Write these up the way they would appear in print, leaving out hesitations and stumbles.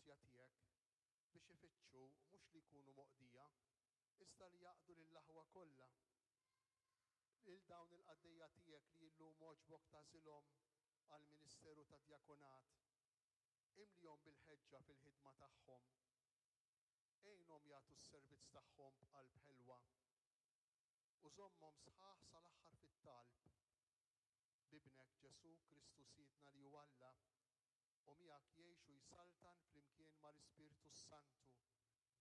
mill-grazzja tiegħek biex ifittxu mhux li jkunu moqdija, iżda li jaqdu lill-aħwa kollha. Lil dawn il-qaddejja tiegħek li llum għoġbok tagħżilhom għall-ministeru tad-djakonat, imlihom bil-ħeġġa fil-ħidma tagħhom. Għinhom jagħtu s-servizz tagħhom b'qalb ħelwa u żommhom sħaħ sal-aħħar fit-talb. B'Ibnek Ġesù Kristu Sidna li hu Alla, u miegħek jgħix u jsaltan flimkien mal-Ispirtu s-Santu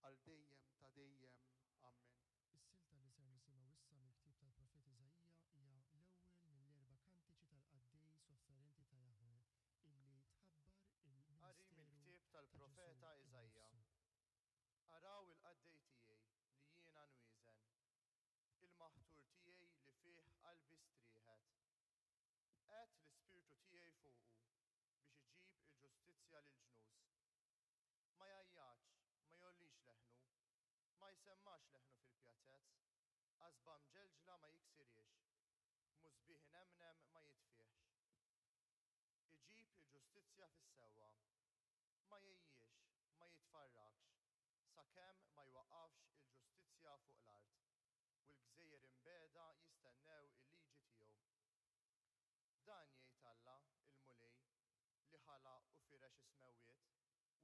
għal dejjem ta' dejjem. Ammen. Is-silta li ser nisimgħu issa mill-ktieb tal-profeta Iżaija hija l-ewwel mill-erba' kantiċi tal-qaddej sofferenti ta' Jaħweh illi tħabbar Qari il-ministeru mill-ktieb ta' Ġesù tal-profeta Iżaija. innifsu. Araw il-qaddej tiegħi li jiena nwieżen, il-maħtur tiegħi li fih qalbi strieħet. Qegħedt l-ispirtu tiegħi fuqu biex iġib il-ġustizzja lill-ġnus. Ma jgħajjatx, ma jgħollix leħnu, ma jsemmax leħnu fil-pjazez, qasba mġelġla ma jiksirhiex, musbieħ inemnem ma jitfihx. Iġib il-ġustizzja fis-sewwa. Ma jgħejjiex, ma jitfarrakx, sakemm ma jwaqqafx il-ġustizzja fuq l-art, u l-gżejjer imbiegħda jistennew il-liġi tiegħu. Dan jgħid Alla, il-Mulej, li ħalaq u firex is-smewwiet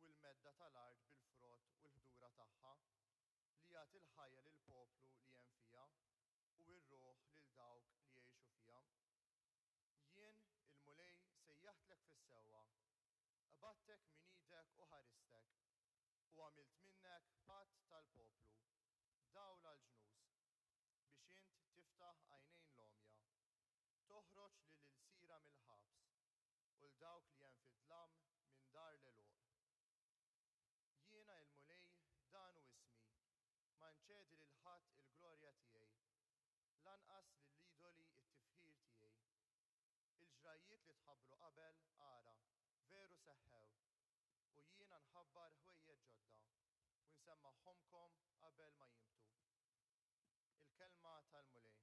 u l-medda tal-art bil-frott u l-ħdura tagħha, li jagħti l-ħajja lill-poplu li hemm fiha u r-ruħ lil dawk li jgħixu fiha. Jien, il-Mulej, sejjaħtlek fis-sewwa, qbadtek minn idek u ħaristek, u għamilt minnek patt tal-poplu, dawl għall-ġnus, biex int tiftaħ għajnejn l-għomja, toħroġ lill-ilsira mill-ħabs, u 'l dawk li hemm fid-dlam minn dar l-għeluq. Jiena il-Mulej, dan hu ismi, ma nċedi lil ħadd il-glorja tiegħi, lanqas lill-idoli it-tifħir tiegħi. Il-ġrajjiet li tħabbru qabel, ara, veru seħħew, u jiena nħabbar ħwejjeġ ġodda, u nsemmagħhomlkom qabel ma jinbtu. Il-kelma tal-Mulej.